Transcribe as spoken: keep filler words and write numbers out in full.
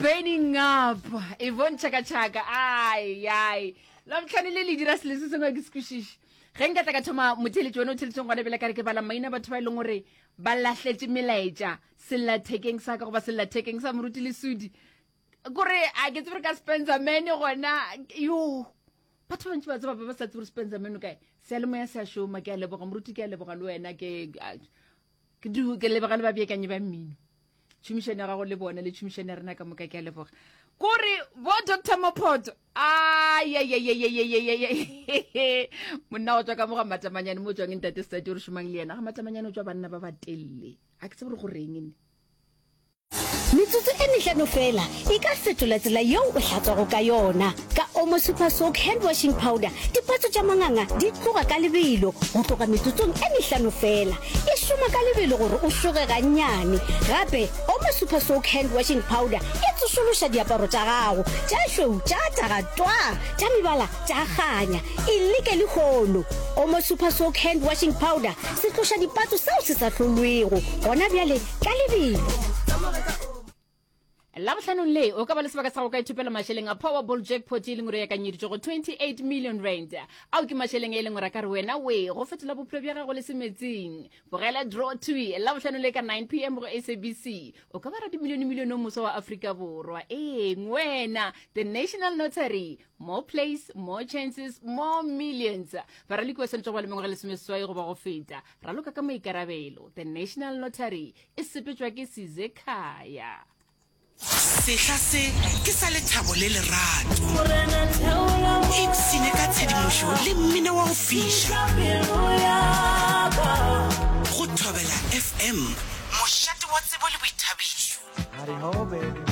Burning Up, Yvonne Chaka Chaka. Ai ai, Labohlano le le dira selo se sengwe ke se kwešiše. Ge nka tla ka thoma motheeletši wena o theeletšeng gona bjale ka re ke bala maina batho ba e leng gore ba lahletše melaetša sellathekeng sa ka goba sellathekeng sa Moruti Lesudi, kore a ke tsebe re ka Spencer Man gona. Yo, batho ba bantši ba tseba ba ba sa tsebe gore Spencer Man o kae. Seyalemoya se a šoma. Ke a leboga Moruti, ke a leboga le wena, ke ke du ke leboga le babeakanyi ba mmino, tšhomišano ya gago le bona le tšhomišano ya rena ka moka, ke a leboga. Kore bo Doctor Mophoto, ayayayayayayay, monna go tswa ka mo ga Matamanyane mo tswang ntate State o re šomang le yena ga Matamanyane, o tswa banna ba ba telele, a ke tsebe gore go reng ne. Metsotso e mehlano fela e ka fetola tsela yeo o hlatswago ka yona. Ka Omo Super Soak Hand Washing Powder, dipatso tša manganga di tloga ka lebelo go tloga metsotsong e mehlano fela. E šoma ka lebelo gore o šoge gannyane. Gape Omo Super Soak Hand Washing Powder e tsošološa diaparo tša gago tša šweu tša taga twaa, tša mebala tša kganya. E leke lehono. Omo Super Soak Hand Washing Powder, se tloša dipatso seo se sa hlolwego gona bjale ka lebelo. Labohlanong le o ka ba le sebaka sa go ka ithopela mašeleng a Powerball jackpot e leng gore ya kanyeditšwe go twenty-eight million rand. Ao ke mašeleng e leng gore a ka re wena we go fetola bophelo bja gago le semetsing. Bogela Draw Two Labohlano le ka nine p m go S A B C. O ka ba radimilione milione o moswa wa Afrika Borwa. Eng wena, The National Lottery, more plays, more chances, more millions. Baraloki ba swanetše go ba le mengwaga lesomeseswai goba go feta. Raloka ka maikarabelo. The National Lottery e sepetšwa ke Sizekhaya. Sehla se ke sa lethabo le lerato. Ipshine ka tshedimošo le mmino wa go fiša. Go Thobela F M, mošate wa tsebo le boithabišo. Howdy ho, baby.